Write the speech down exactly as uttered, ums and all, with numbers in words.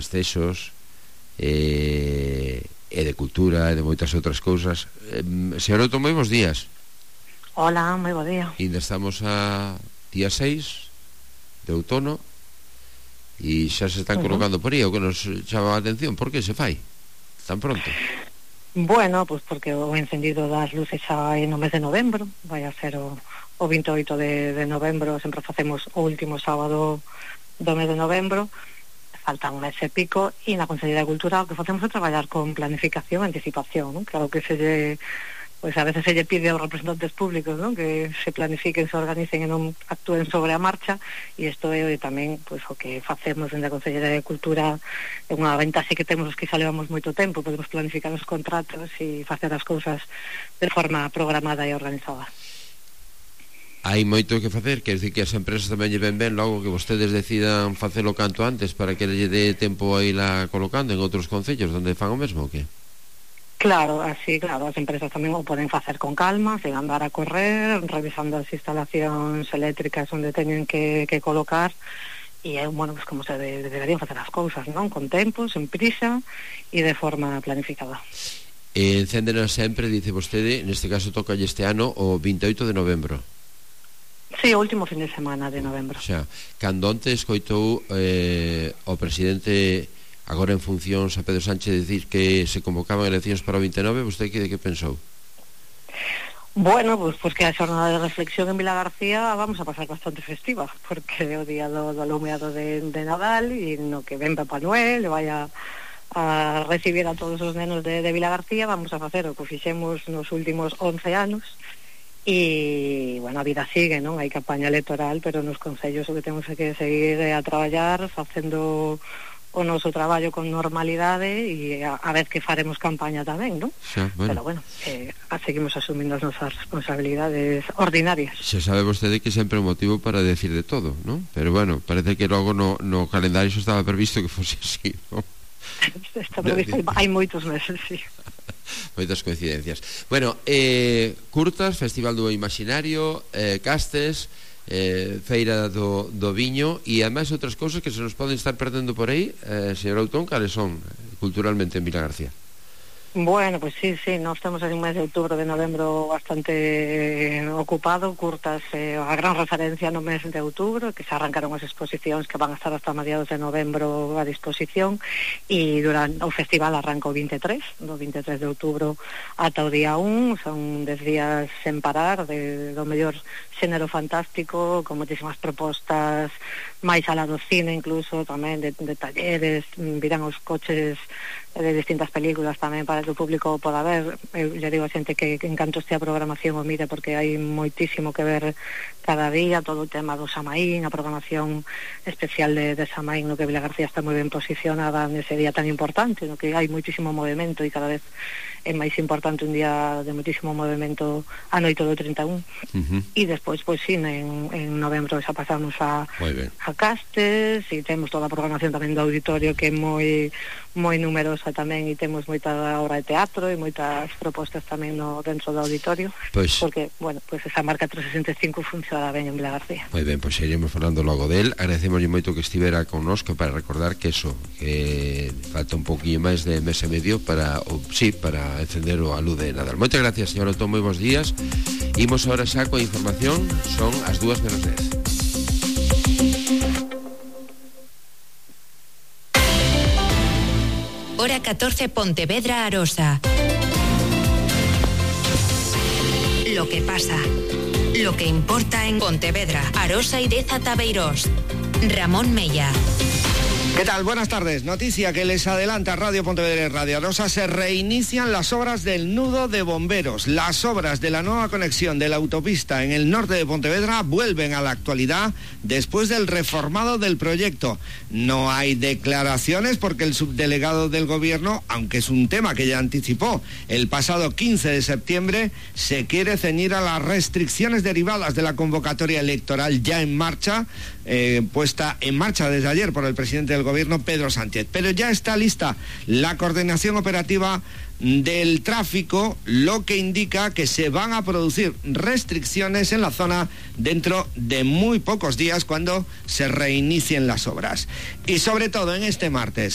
festexos, e, e de cultura e de moitas outras cousas. eh, Señor Outo, moi bons días. Hola, moi bo día. Ainda estamos a día seis de outono e xa se están colocando por aí. O que nos chama a atención, por que se fai tan pronto? Bueno, pues porque o encendido das luces xa é no mes de novembro. Vai a ser o, o vinte e oito de, de novembro. Sempre facemos o último sábado do mes de novembro. Falta un mes e pico, e na Consellería de Cultura o que facemos é traballar con planificación e anticipación, ¿no? Claro que se lle, pues a veces se lle pide aos representantes públicos, ¿no?, que se planifiquen, se organicen e non actúen sobre a marcha, e isto é tamén pues o que facemos dentro da Consellería de Cultura. É unha ventaxe que temos os que xa levamos moito tempo, podemos planificar os contratos e facer as cousas de forma programada e organizada. Hai moito que facer, quer dicir que as empresas tamén lle ven ben logo que vostedes decidan facelo canto antes para que lle dé tempo a ir a colocando en outros concellos onde fan o mesmo, o que? Claro, así, claro, as empresas tamén o poden facer con calma, sen andar a correr, revisando as instalacións eléctricas onde teñen que, que colocar, e é, bueno, pues como se de, deberían facer as cousas, non? Con tempo, sen prisa e de forma planificada. E encéndenas sempre, dice vostede, neste caso toca este ano o vinte e oito de novembro. Sí, o último fin de semana de novembro. O sea, cando onte escoitou eh, o presidente agora en funcións a Pedro Sánchez decir que se convocaban eleccións para o vinte e nove, vostede que de que pensou? Bueno, pues, pues que a xornada de reflexión en Vilagarcía vamos a pasar bastante festiva, porque é o día do, do alumeado de, de Nadal, e no que ven Papá Noel e vai a, a recibir a todos os nenos de, de Vilagarcía. Vamos a facer o que fixemos nos últimos once anos. E, bueno, a vida sigue, non? Hai campaña electoral, pero nos concellos o que temos é que seguir a traballar, facendo o noso traballo con normalidade, e a, a vez que faremos campaña tamén, non? Xa, bueno. Pero, bueno, eh, seguimos asumindo as nosas responsabilidades ordinarias. Xa sabe vostede que sempre é un motivo para decir de todo, non? Pero, bueno, parece que logo no, no calendario xa estaba previsto que fose así, non? Está previsto, hai moitos meses, sí. Moitas coincidencias. Bueno, eh, curtas, Festival do Imaginario, eh, castes, eh, Feira do, do Viño, e ademais outras cousas que se nos poden estar perdendo por aí. eh, Señor Outón, cales son culturalmente en Vilagarcía? Bueno, pues sí, sí, nós temos en mes de outubro, de novembro bastante eh, ocupado, curtas, eh, a gran referencia no mes de outubro, que se arrancaron as exposicións que van a estar hasta mediados de novembro a disposición, e durante o festival arranca o vinte e tres, do vinte e tres de outubro ata o día un, son dez días sen parar, de, do mellor xénero fantástico, con moitísimas propostas, máis alá do cine incluso, tamén de, de talleres, virán os coches de distintas películas tamén para que o público poda ver. Eu lle digo a xente que, que en canto este a programación o mire, porque hai moitísimo que ver cada día, todo o tema do Samaín, a programación especial de, de Samaín, no que Vilagarcía está moi ben posicionada nese día tan importante, no que hai moitísimo movimento, e cada vez é máis importante un día de moitísimo movimento a noite do trinta e un. Uh-huh. E despois, pois sí, en, en novembro xa pasamos a, a castes, e temos toda a programación tamén do auditorio, que é moi moi numerosa tamén, e temos moita obra de teatro e moitas propostas tamén no dentro do auditorio, pues, porque, bueno, pues esa marca trescentos sesenta e cinco funciona ben en Vilagarcía. Moi ben, pois pues iremos falando logo del. Agradecemos moito que estivera connosco para recordar que eso, que falta un poquinho máis de mes e medio para, o, sí, para encender a luz de Nadal. Moitas gracias, señor Otón, moi bons días. Imos ahora xa coa información, son as dúas menos dez. Hora catorce, Pontevedra, Arosa. Lo que pasa, lo que importa en Pontevedra, Arosa y Deza Tabeirós. Ramón Mella. ¿Qué tal? Buenas tardes. Noticia que les adelanta Radio Pontevedra y Radio Arosa. Se reinician las obras del nudo de bomberos. Las obras de la nueva conexión de la autopista en el norte de Pontevedra vuelven a la actualidad después del reformado del proyecto. No hay declaraciones porque el subdelegado del gobierno, aunque es un tema que ya anticipó el pasado quince de septiembre, se quiere ceñir a las restricciones derivadas de la convocatoria electoral ya en marcha, eh, puesta en marcha desde ayer por el presidente del gobierno, Pedro Sánchez. Pero ya está lista la coordinación operativa del tráfico, lo que indica que se van a producir restricciones en la zona dentro de muy pocos días cuando se reinicien las obras. Y sobre todo en este martes,